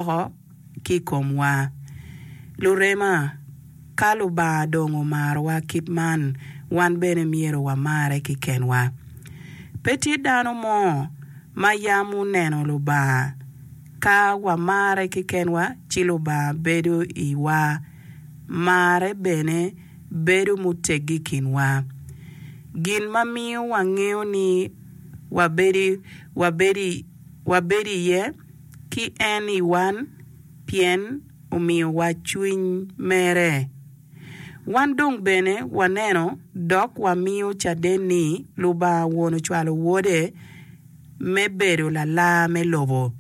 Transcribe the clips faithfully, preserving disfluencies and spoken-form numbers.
woko ki i komwa. Lurema, ka Lubanga dong omarowa kit man, wan bene myero wamare kekenwa. Pe tye dano mo ma yam oneno Lubanga. Ka wamare kekenwa, ci Lubanga bedo i iwa, marre bene bedo muteggi i kinwa. Gin ma miyo wangeyo ni wabedo, wabedo, wabedo iye ki en i wan, pien omiyowa cwiny mere. Wan dong bene waneno dok wamiyo caden ni Lubanga Won ocwalo Wode me bedo lalar me lobo.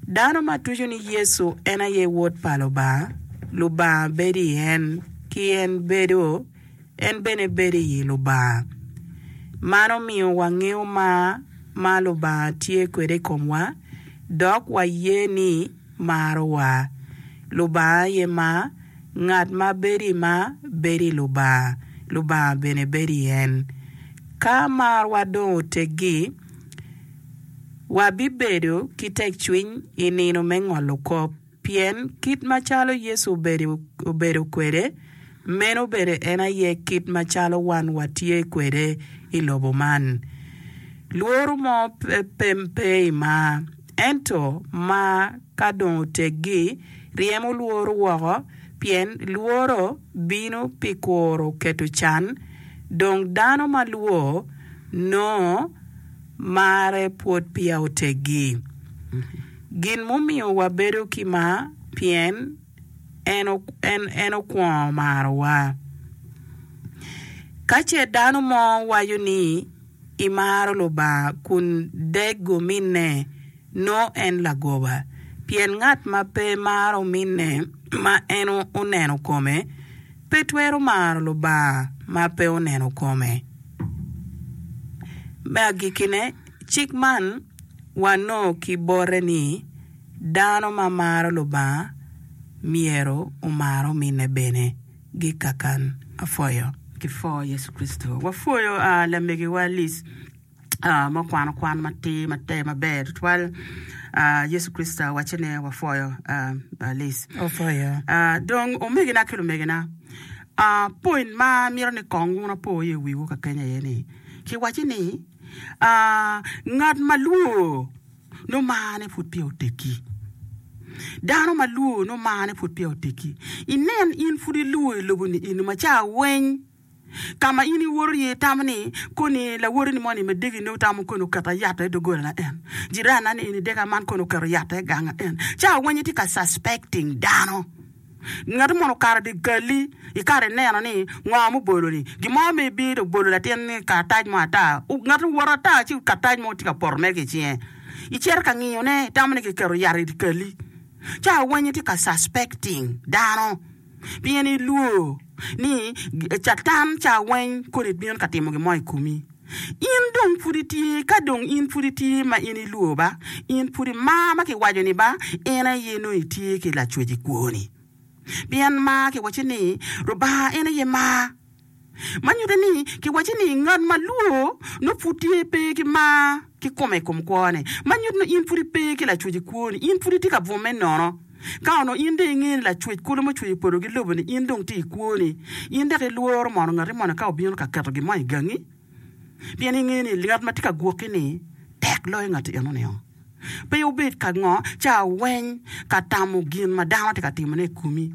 Dano ma tuco ni Yecu en aye Wod pa Lubanga, Lubanga bedo i en, ki en bedo en bene bedo i Lubanga. Man omiyo wangeyo mar ma Lubanga tye kwede i komwa, dok waye ni marowa. Lubanga aye mar, ngat ma bedo i mar bedo i Lubanga, Lubanga bene bedo i en. Ka marwa dong oteggi, wabibedo ki tekcwiny i nino me ngolo kop, pien kit macalo Yecu obedo, obedo kwede, meno bene en aye kit macalo wan watye kwede i lobo man. Lworo mo pe, pe, pe i mar, ento mar ka dong oteggi, ryemo lworo woko, pien lworo bino pi kuro keto can, dong dano ma lwor nongo marre pwod peya oteggi. Gin mumiyo wabedo ki mar, pien en, en, en okwongo marowa. Ka ce dano mo waco ni imaro Lubanga kun deg ominne, nongo en lagoba. Pien ngat ma pe maro ominne ma en oneno kome, pe twero maro Lubanga ma pe oneno kome. Me agikkine, cik man wanongo ki bote ni dano ma maro Lubanga myero omar ominne bene. Gikakan apwoyo. Kipwo Yecu Kricito. Wapwoyo uh, lamegiwa Liz uh, ma okwano kwan matir mater maber tutwal. Uh, Yecu Kricito wacce ne wapwoyo uh, uh, Liz. Opwoyo. Uh, dong omegina ki lumegina uh, point ma mito ni kong wun apo iye wiwu ka kenya iye ni kiwaci ni uh, ngat ma lwor nongo marne pud peya oteggi. Dano ma lwor nongo marne pud peya oteggi. Inen in pud ilwor i lobo ni eni ma ca weny ka ma in iwoto iye itamo ni koni lawoti-ni moni ma degi nongo tamo koni oketo yat i doggolana en jirana ni eni deka man koni oketo yat i ganga en ca weny itye ka suspecting dano ngat mono okato di gali ikare ineno ni ngo mubolo-ni gin mo ma ibino obolo latin karatac mo ata ngat owoto ata ci karatac mo tye ka poto mere ki i cinge icito ka ngiyone itamo ni kiketo yat i gali ca weny itye ka suspecting dano pien ilwor ni catan ca weny koni bino ka timo gin mo i komi in dong pud itye ka dong in pud itye ma in ilwor ba in pud imar ma kiwaco ni ba en aye nongo itye ki lacwec i kwoni pien mar kiwaco ni Lubanga en aye mar ma nyuto ni kiwaco ni ngat ma lwor nongo pud tye pe ki mar ki kome i kom kwone ma nyuto ni in pud ipe ki lacwec i kwoni in pud itye ka bwome nono ka onongo in dong ingeyo ni lacwec kulu mucweyo polo ki lobo ni in dong tye i kwoni in dok ilworo mono ngati moni ka obino ka keto gin mo i gangi pien ingeyo ni ngat ma tye ka gwoki ni tek loyo ngati eno-ni pe obed ka ngo ca weny ka tamo gin ma dano tye ka timone i komi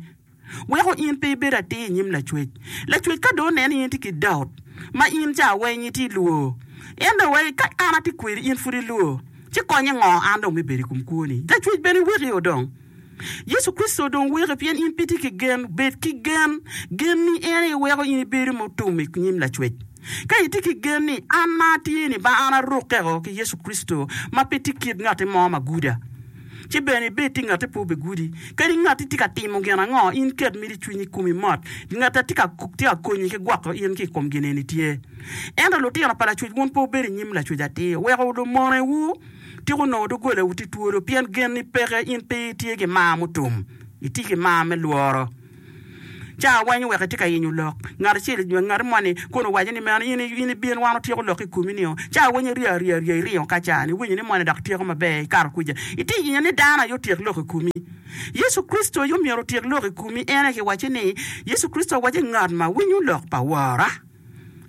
weko in pe ibedo atir i nyim lacwec lacwec ka dong oneno in itye ki doubt ma in ca weny itye lwor en dong wai ka an atye kwedi in pud ilwor ci konye ngo an dong me bedo i kom kwoni lacwec bene weki o dong Yecu Kricito dong weki pien in pe itye ki gen bed ki gen gen-ni en aye weko in ibedo mutum i nyim lacwec ka itye ki gen ni an ma atye ni ba an arukkeo ki Yecu Kricito ma pe tye kit ngati mo ma guda ci bene ibed tye ngati pe obigudi kadi ngati tye ka timo gin ango in ket miti cwinyi i komi mot ngat a tye ka tye ka konyi ki gwoko in ki i kom gin eni tye ento lutino pa lacwec wun pe wubedo i nyim lacwec atir weko lumonewu tiko nongo doggolawu tye twolo pien gen-ni peke in pe itye ki mar mutum itye ki mar me lworo Ca weng oweko itye ka yenyo lok. Ngat acel nyo ngat moni kono owaco ni meno in in ibin wan otyeko lok i komi nio. Ca weng iryo aryo aryo iringo ka ca ni iwinyo ni moni dok tyeko maber ikato kuca. Itye yenyo ni dano aye otyek lok i komi. Yecu Kricito aye omyero otyek lok i komi. En aye kiwacce ni Yecu Kricito owacci ngat ma winyo lok pa Wora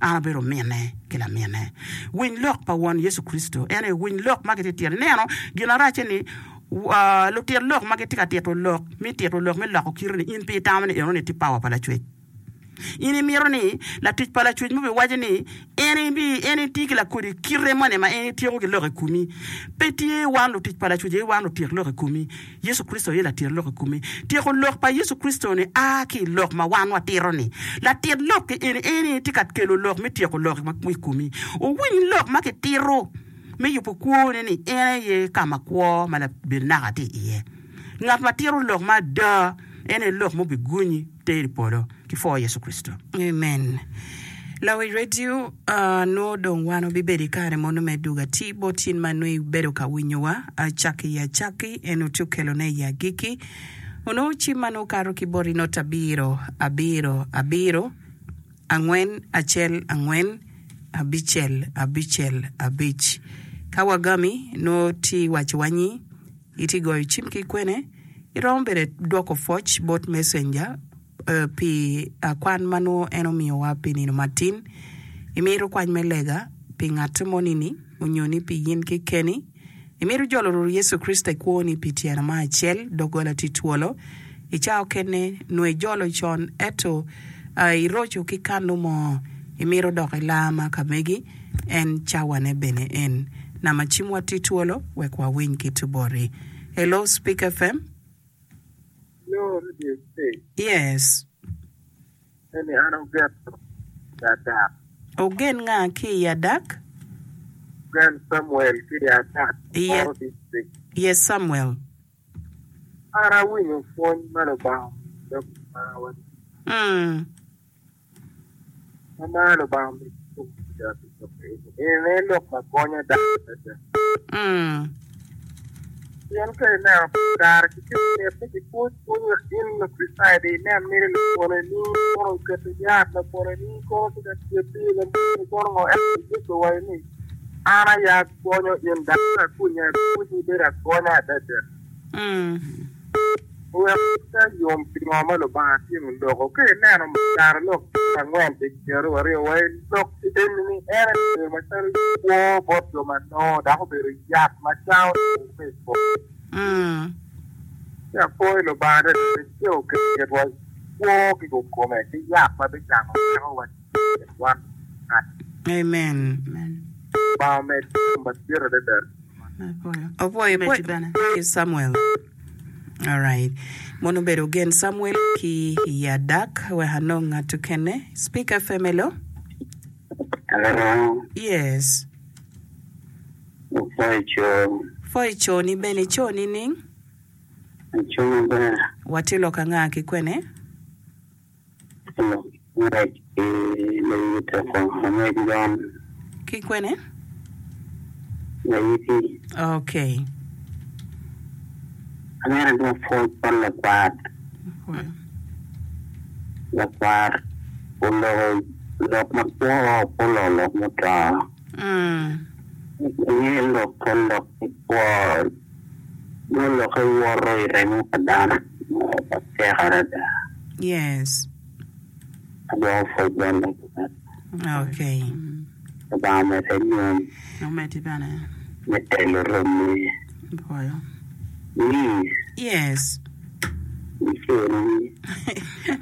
an abedo ominne ki laminne. Winy lok pa Won Yecu Kricito. En aye winy lok ma gitye ka tito. Ineno gin aracce ni lutit lok ma gitye ka tito lok me tito lok me loko kite ni in pe itamo ni enoni tye power pa Lacwec. In imito ni latic pa Lacwec mo biwaco ni en en etye ki lakodi kite moni ma en etyeko ki lok i komi. Pe tye wan lutic pa Lacwec aye wan lutyek lok i komi. Yecu Kricito aye latyek lok i komi. Tyeko lok pa Yecu Kricito-ni a ki i lok ma wan watito-ni. Latit lok-ki eni en aye tye ka kelo lok me tyeko lok i komi. Wuwiny lok ma kitito me yubo kwone ni en aye ka ma kwo ma labedo naka tye iye. Ngat ma tito lok ma ada en aye lok ma obigonyi teri i polo ki pwo Yecu Kricito. Amen. Lawic redio, nongo dong wan wabibedo i kare mono me dwogo atir bot in ma nongo ibedo ka winyowa acakki i acakki, en otye okelone i agikki. Onongo cim ma nongo okato ki boti not abiro, abiro, abiro, angwen, acel, angwen, abicel, abicel, abic. Ka wagami, nongo tye iwacowa nyi itye goyo cim ki kwene, iromo bene dwoko pwoc bot messenger pi kwan ma nongo en omiyowa pi nino matin. Imito kwany me lega pi ngat moni-ni onyo ni pi in kekeni? Imito jolo Rwot Yecu Kricito i kwoni pi tyeno mo acel? Doggola tye twolo. I cawa okene nongo ijolo con ento iroco ki kanu mo. Imito dok ilar ma ka megi? En cawane bene en. Nama cimwa tye twolo wek wawiny ki tuboti. Hello Speak FM. Hello Radio Speak. Yes. Eni an Ogen i Adak. Ogen nga ki i Adak? Ogen Samuel ki i Adak, Ye Oro District. Yes Samuel. An awinyo pwony ma Lubanga omiyo dok marwa. Mm. Ma mar Lubanga omiyo tung adada pi lok eni. Eni aye lok ma gonyo dano adada. Pien ka ineno kare ki ceng mit ni kipwony pwony wek in Lakricitayo dong inen miti lapwoneni kono oketo yat, lapwoneni kono tye ka tyeti, lapwoneni kono ngo ento Yecu owaco ni an aye agonyo in dok ka akonyi akonyi ibedo agonya adada. Wek pe ayom pi ngo ma Lubanga tye oloko. Ka ineno carolok angwen pi pyeraryo aryo wa i lok eni-ni, en aye obedo macalo kwo bot jo ma nongo dok obedo yat ma cango two me i kom. Ci apwoyo Lubanga adada ni tye oketo kitwa kwo ki kikome ki yat ma bicango pekowa ducu wan ngat. Amen. Lubanga omed gum madit adada. Opwoyo pwoyo Samuel. Alright. Mono obedo Ogen Samuel ki i Adak wek anong ngat okene. Speak F M hello. Hello. Yes. Opwoyo co. Pwoyo co ni bene ico nining? Aco maber. Watye lok anga ki kwene? Lok ngwec ki layiteko angwec gon. Ki kwene? Layiti. Ok. Amito adwok pwoc bot lakwat. Lakwat oloko lok makwo pe oloko lok muto. Inge lok lok makwo nongo lokke woto i remo pa dano matek adada. Yes. Adwoko pwoc bot lakwat. Okay. Lubanga omedde nyom Omeddi bene. me telo romi. Apwoyo. Ni. Yes. Ico ni.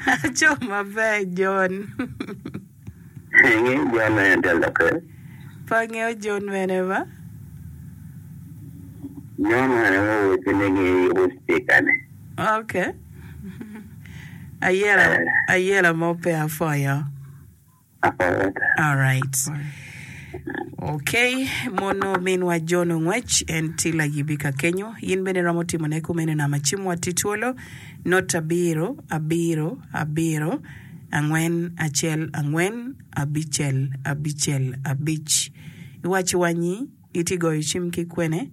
Aco maber John. Ingeyo John mene te lokke? Pe angeyo John mene ba. John mene ma owacci ni giyubo speaker-ni? Ok. Ayela, ayela mo pe apwoyo. Apwoyo ta. Alright. Ok, mono minwa John Ongwec, en tye layibi ka kenyo. In bene iromo timone kumeno namba cimwa tye twolo, not abiro, abiro, abiro, angwen, acel, angwen, abicel, abicel, abic. Iwacciwa nyi itye goyo cim ki kwene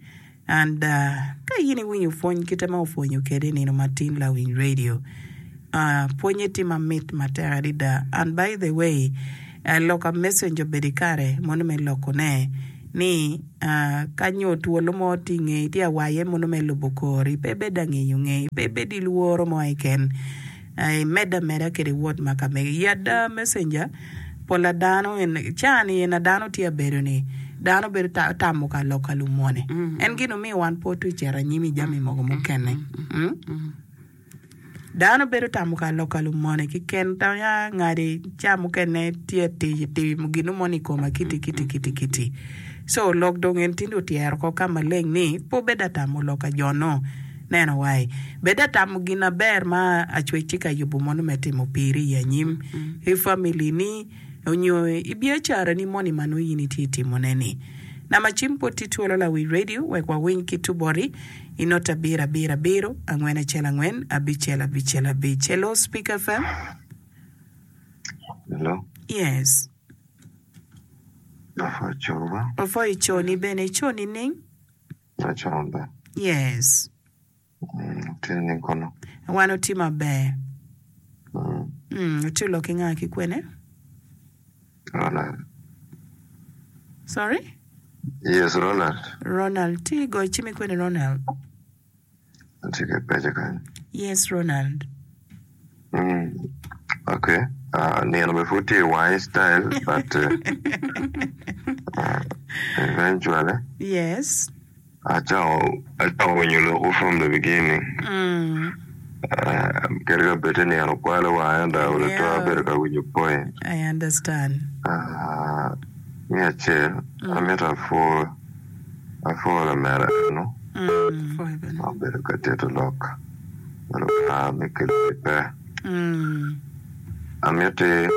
and uh, ka in iwinyo pwony kite ma opwonyo kede i nino matin lawiny radio, Uh, pwonye tye mamit matek adada. And by the way, uh, lok a messenger obedo i kare mono me lokone ni uh, ka nyo twolo mo tye i ngei tye awaye mono me lubo kori pe bed angeyo ngei pe bed i lworo mo keken uh, imedde ameda kede wot ma ka megi. I ada messenger pol a dano en caa-ni en a dano tye abedo ni dano bedo ta tamo ka lok ka lumone en gin omiyo wan pe otwe cito anyim i jami mogo mukene mm? Dano bedo tamo ka lok ka lumone keken tamo ya ngadi ca mukene tye atic timo gino moni i koma kiti kiti kiti kiti so lok dong en tinde otyero ko ka maleng ni pe obed atamo lok ka jo-nu neno wai bed atamo gin aber ma acwec tye ka yubo mono me timo piri i anyim i family ni onyo i biacarani moni ma nongo in itye timone ni. Namba cim pwod tye twolo lawi radio wek wawiny ki tuboti i not abiro abiro abiro angwen acel angwen abicel abicel abic. Hello Speak F M. Hello. Yes. Apwoyo coba. Apwoyo coni bene ico nining? Aco maber. Yes. Mm, tye nining kono? Wan otye maber. Mm. Mm, otye lok ki nga ki kwene? Ronald. Sorry? Yes, Ronald. Ronald, tye goyo cim i kwene Ronald? Atye ki peco kany. Yes, Ronald. Mm. Okay. Uh, nino be pud tye i wine style, but uh, uh, eventually Yes. Acako acako winyo lokwu from the beginning. Mm. Uh, kadi ka bed ni nino okwalo wanga ento olo to abedo ka winyo point. I understand. Uh, me acel, amito apwo apwo lamera eno Mm. ma obedo ka tito lok ma Lubanga me kelo pe. Mm. Amiti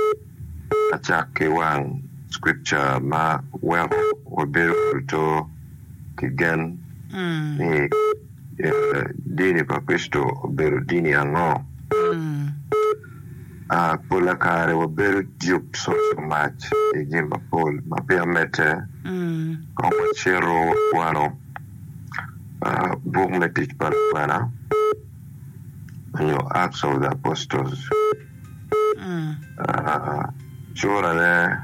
acak ki wang scripture ma weko wabedo oluto ki gen Mm. ni eh, dini pa Kricito obedo dini ango. Mm. Uh, pola kare wabedo duped so so much i jami mapol ma peya medde Mm. kong wacito wakwano uh, buk me tic pa Lukwena onyo Acts of the Apostles. Mm. Uh, curane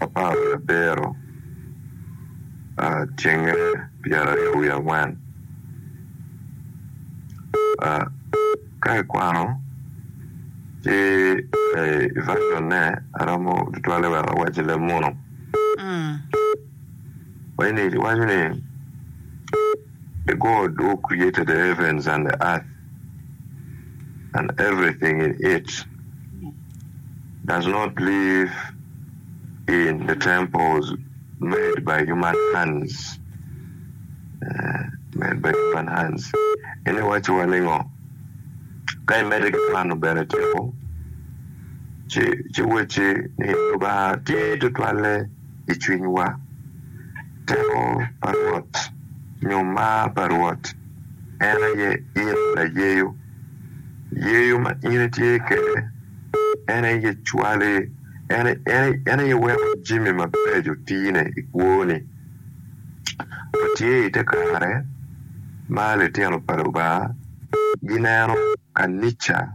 apar wiye abiro uh, tyenge pyeraryo wiye angwen. Uh, ka ikwano ci eh, i version ne aromo tutwalle wek awac i leb muno Mm. Waco waco ni the God who created the heavens and the earth and everything in it does not live in the temples made by human hands. Uh, made by human hands. Ene waco wa ningo ka imedde ki kwano bene tyeko ci ci weci ni Lubanga tye tutwalle i cwinywa teko pa Rwot nyo mar pa Rwot en aye in layeyo yeyo ma in itye kede en aye cwali en en en aye weko jami mabeco tine i kwoni watye i te kare ma litino pa Lubanga gineno kanica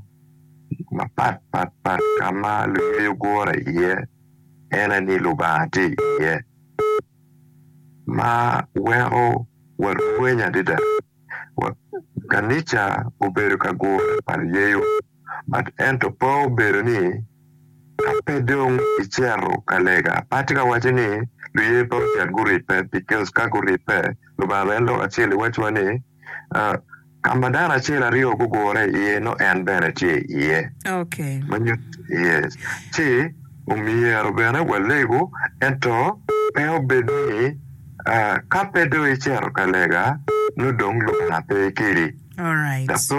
mapat pat pat ka ma luyeyo gure iye en aye ni Lubanga tye iye ma weko warwenyo adada Wa- kanica obedo ka gure pa luyeyo but ento pe obedo ni ka pe dong icito ka lega pe atye ka waco ni luyeyo pe ocit guribbe because ka guribbe Lubanga bene lok acel iwacciwa ni uh, ka ma dano acel aryo gugure iye no en bene tye iye Okay. ma nyuto yes ci omyero bene walego ento pe obed ni uh, ka pe dong icito ka lega no dong Lubanga pe kedi All right. That's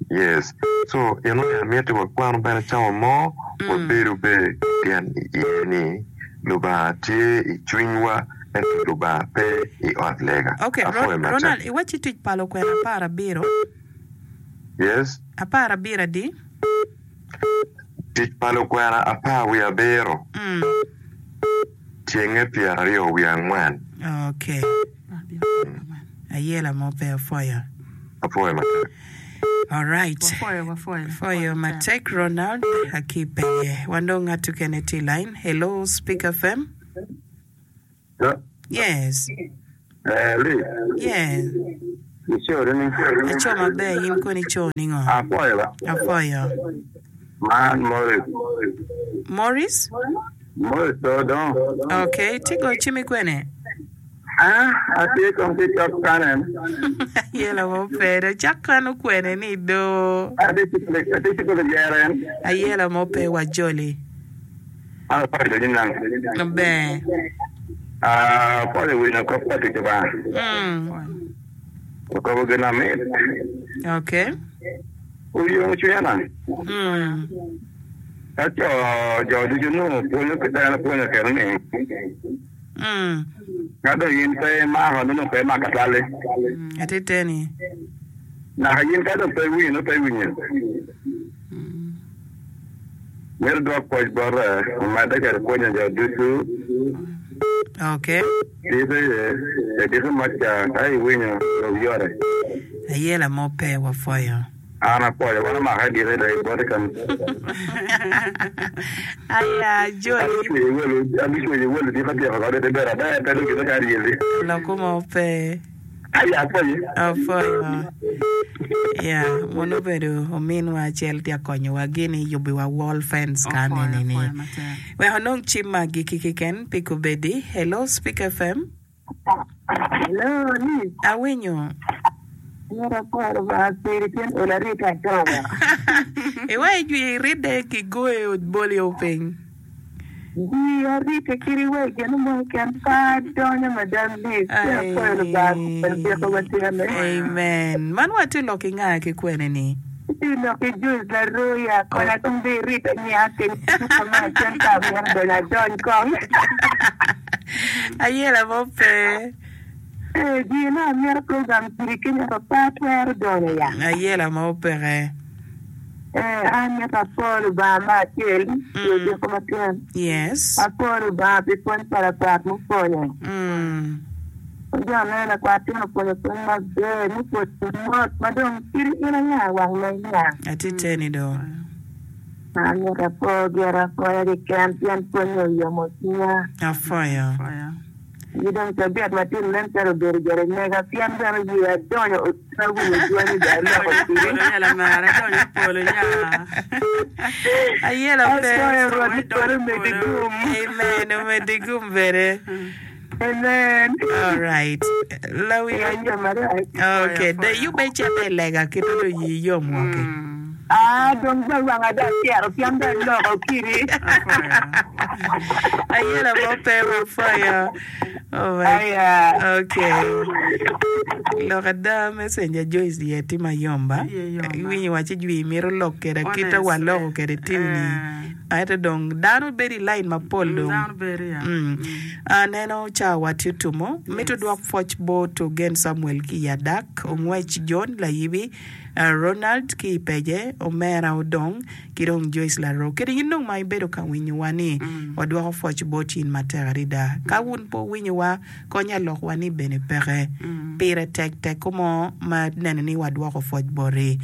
yes. So eno ni amiti wakwano bene cawa mo wabedo be gen iye ni Lubanga tye i cwinywa ento Lubanga pe i ot lega. Okay, Apwoyo Ron- matek. Ronald, iwaci tic pa lukwena apar abiro. Yes. Apar abiro adi? Tic pa lukwena apar wiye abiro Mm. tyenge pyeraryo wiye angwen. Okay. Ayela mo pe apwoyo. Apwoyo matek. All right. Wapwoyo, wapwoyo. Pwoyo matek Ronald aki peye. Wan dong ngat okene tye i line. Hello, Speak F M. Yes. Eh, Lee, Yes. ico ni. Aco maber, in koni ico ningo? Apwoyo ba. Apwoyo. Man Morris. Morris? Morris to dong. Okay, tigo cimi kwene. Ah, atye kong ki cok kanen. Ayela mo pe, do cak kano kwene ni do. Atye cikule jeren. Ayela mo pe wa joli. Ah, apwoyo jo nang. Maber. Ah, apwoyo winyo kop pa tic ba. Mm. Okobo gin amit. Okay. Uyong cwinya na. Mm. Ka co jo ducu nongo pwonyo ki dano pwonyo kene ni. Mm. Ka dong in pe imako nongo pe imako atwali. Atiteni. Naka in ka dong pe iwinyo nongo pe iwinyo. Myero dwok pwoc bote omedde kede pwonyo jo ducu. Okay. Diki ediki maca ka iwinyo dong yore. Ayela mo pe wapwoyo. An apwoyo wan omaka ediki dong ibote kan. Aya joli. Abicweyo welo diki atyeko kode te ber aber pe dong gine kar yeli. Loko mo pe. Aya apwoyi. Apwoyo. Ya, mono obedo ominwa acel tye akonyowa gini yubiwa wall fence ka Opwoyo, nini ni. opwoyo matek. Wek onong cim ma agikki keken pi kubedi. Hello, Speak F M. Hello, Liz. Awinyo. Myero apwoyo Lubanga piri pien olo arita adongo. Iwa ijwi iridde ki goyo bolio piny. Ji arita kiri wa gin mo keken pa adonyo madam Liz. Pien apwoyo Lubanga pien piko watyene. Amen. Man watye lok ki nga ki kwene ni? Ti lok ki Joyce Laroya konya tung be irita nya keny kama cen ka myero donyo adony kong. Ayela mo pe. Eh, ji na myero program kiri kenya pa pa twero donyo ya. Ayela mo peke. Eh, an mito apwoyo Lubanga ma acel pi odiko matyen. Yes. Apwoyo Lubanga pi pwony pa lakwat mupwonyo. Mm. Jo aneno lakwat tye opwonyo pwony maber mupwonyo mot ma dong kiri in anga wang ma inya. Atiteni do. An mito apwoyo gira apwoya keken pien pwonyo oyomo cwinya. Apwoyo. Opwoyo. Gi dong cabit matin nen calo obedo gire mega pien bene oye adonyo otina winyo dwani ga aloko Donyo kiri. polo ya lamara, donyo polo ya. Ayela pe. Apwoyo Rwot Donyo ni polo omedi polo. gum. Amen. Omedi gum bene. Amen. All right. Lawi. Ayo marac. Okay. De yube cete lega kito do yi yom woke. Mm. Ah, dong ba wanga da cero pien da loko kiri. Apwoyo. Ayela mo pe wapwoyo. Oh my. Aya. Okay. Lok ada messenger Joyce ye tye mayom ba. Iye yom ba. Iwinyo waci jwi mito lok kede kita wa Honestly. loko kede tiwni. Eh. Ento dong dano bedo i line mapol Mm, dong. Dano bedo ya. Mm. Mm. Aneno ca watye tumo. Mito Yes. dwok pwoc bot Ogen Samuel ki Yadak, Ongwec John Layibi, uh, Ronald ki Peje, Omera Odong, ki dong Joyce Laro. Kede in dong ma ibedo ka winyowa ni Mm. wadwoko pwoc bot in matek adada. Ka wun po winyowa, konya lokwa ni bene peke. Mm. Pire tek tek komo ma neno ni wadwoko pwoc boti.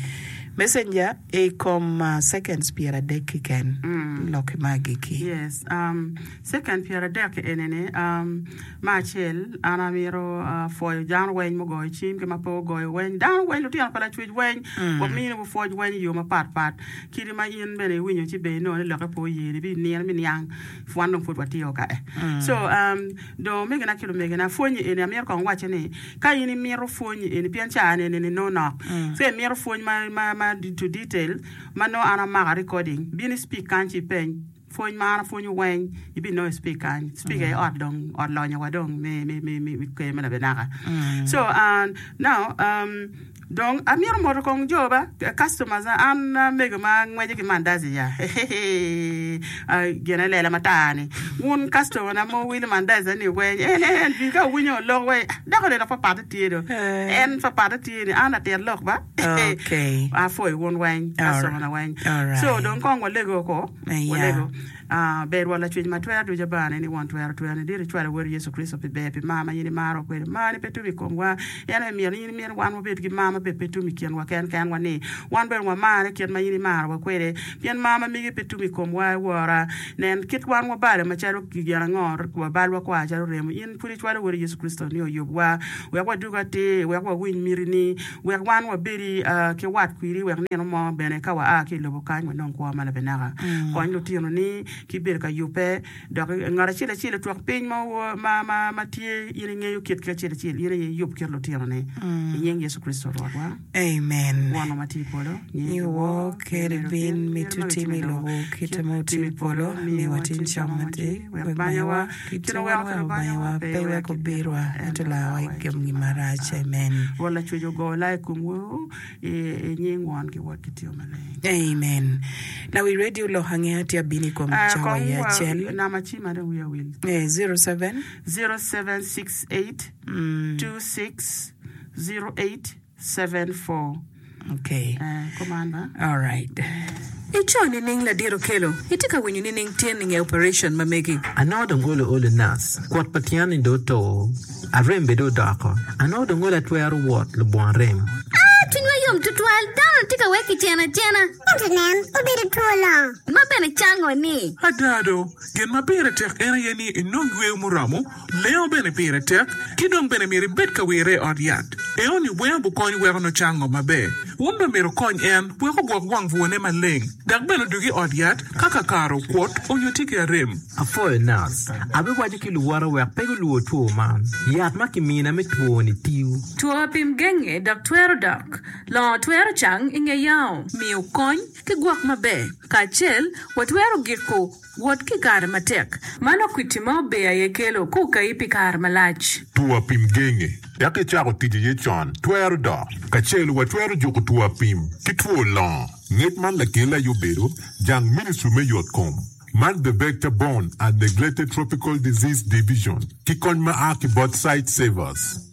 Messenger i kom uh, seconds piero adek keken. Mm. Lok ma agikki. Yes. Um, second piero adek enini um, ma acel an amito uh, pwoyo dano weny mugoyo cim ki ma pe ogoyo weny dano weny lutino pa lacwec weny Mm. wamini pwoc weny i yo mapat pat kidi ma in bene iwinyo ci be inongo ni loke pe oyeni bi nino mi niang wan dong pud watio ka e Mm. so um, dong omegina ki lumegina pwonyi eni amito kong wacce ni ka in imito pwonyi eni pien ca ni eni nongo nok Mm. so imito pwony ma, ma, ma to detail ma nongo an amako recording bin i speak kany ci ipeny pwony ma an apwonyo weny ibinongo i speak kany speak aye ot dong ot lonyowa dong mi mi mi mi mi ker me labenaka. Mm. So uh, now um, dong amito moto kong jo ba customers an mego ma ngweco ki mandazi ya uh, gine lela matar ni wun customer na mo wilo mandazi ni weny en en bi ka winyo lok we dako neno papat tye do Eh. en papat tye ni an atit lok ba. Okay. Apwoyo wun weny All customer na weny all so right. dong kong walego ko Yeah. walego. Ber Rwot Lacwec ma twero ducu Abane ni won twero twero ni dit icwalo Wodi Yecu Kricito pi ber pi mar ma in imaro kwede. Mar ni pe tum i komwa. En aye myero in imito wan wabed ki mar ma bene pe tum i kinwa ken kenwa ni wan bene wamare kit ma in imarowa kwede. Pien mar ma megi pe tum i komwa i wora. Nen kit wan wabalo macalo gin ango wabalwa kwar calo remo. In pud icwalo Wodi Yecu Kricito ni oyubwa wek wadug atir, wek wawiny mitini, wek wan wabedi ki wat kwiri wek nino mo bene ka waa ki i lobo kany wanong kwo ma labinaka. Kony lutinoni ki bedo ka yubbe dok ngat acel acel otwok piny ma tye in ingeyo kitgi acel acel in aye iyub kit lutinoni i nying Yecu Kricito Rwotwa. Amen. Wonwa ma tye i polo, Nyingi wor, ker ibin, miti otim i lobo kite ma otim i polo. Miwa tin cam matir, wek banyawa, kit ma wan weko banyawa, pe iwek obirwa, ento larwa i kom gin marac. Amen. Rwot Lacwec ogo laa i komwu i nying Won ki Wod ki Tio Maleng. Amen. Lawi radio lok angeya tye abino i kom Eh, cawa kong i wa acel. nama cima dong wiya wil. Eh, zero seven. Zero seven six eight two six zero eight seven four. Okay. Eh, kuman ba? All right. Ico nining ladit Okello? Itye ka winyo nining tyen inge operation ma megi? Anongo dong olo olo nac, kwot pa tyen ni dong oto, arem bene dong odoko. Anongo dong olo atwero wot lubongo arem. Aa, cwinywa yom tutwal! Dano tye ka wek kicen acena. Ento nen, obedo two longo. Ma bene cango ni. Ada do, gin ma pire tek en aye ni inong yweyo muromo, lengo bene pire tek, ki dong bene myero ibed ka wire i ot yat. Eoni weng obukony weko nongo cango maber. Wun bene myero wukony en wek ogwok wang bwone maleng, dok bene odug i ot yat ka kakare okwot onyo tye ki arem. Apwoyo nac. Abiwaco ki luwota wek pe gulwor two man. Yat ma kimina me two-ni tiyo. Two apim genge dok twero dok. Longo twero cang i nge yango. Miyo kony ki gwok maber. Kacel, watwero giko wot ki kare matek. Mano kwiti ma ober aye kelo kukayi pi kare malac. Two apim genge dok icako tic iye con twero dok. Kacel watwero juko two apim ki two longo. Ngec man lakel aye obedo jang Ministry me Yotkom man The Vector Borne and Neglected Tropical Disease Division ki kony ma a ki bot Sightsavers.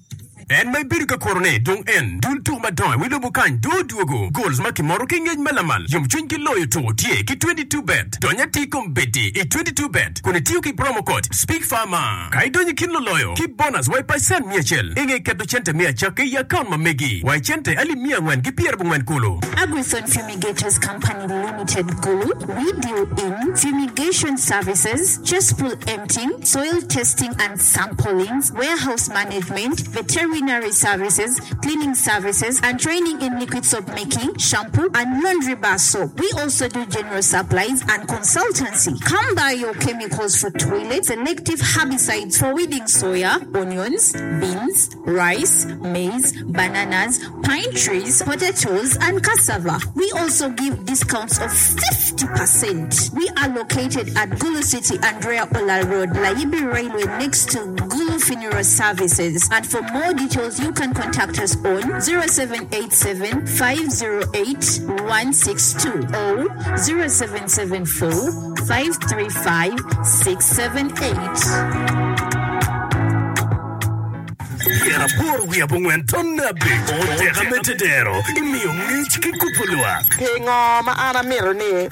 En ma ibedo ka kurone dong en dul tuko madongo i wi lobo kany dong odwogo. Goals ma kimoto ki ngec ma lamal, yomcwiny ki loyo tuko tye ki twenty two bet. Dony atir kombeddi i twenty two bet kun itiyo ki promo code SPEAKFARMA. Ka idonyo i kin luloyo ki bonus wa i pacent miya acel i nge keto cente me acakke i akaunt ma megi wa i cente alip miya angwen ki pyerabongwen kulu. Agrithon Fumigators Company Limited Gulu, we deal in fumigation services, cesspool emptying, soil testing and samplings, warehouse management, veterinary services, cleaning services, and training in liquid soap making, shampoo, and laundry bar soap. We also do general supplies and consultancy. Come buy your chemicals for toilets, selective herbicides for weeding soya, onions, beans, rice, maize, bananas, pine trees, potatoes, and cassava. We also give discounts of fifty percent. We are located at Gulu City, Andrea Ola Road, Layibi Railway, next to Gulu Funeral Services. And for more details, you can contact us on zero seven eight seven five zero eight one six two or zero seven seven four five three five six seven eight. Pyeraboro wiye abongwen tonne abic oteka me tedero imiyo ngec ki kubo lwak. Pingo ma an amito ni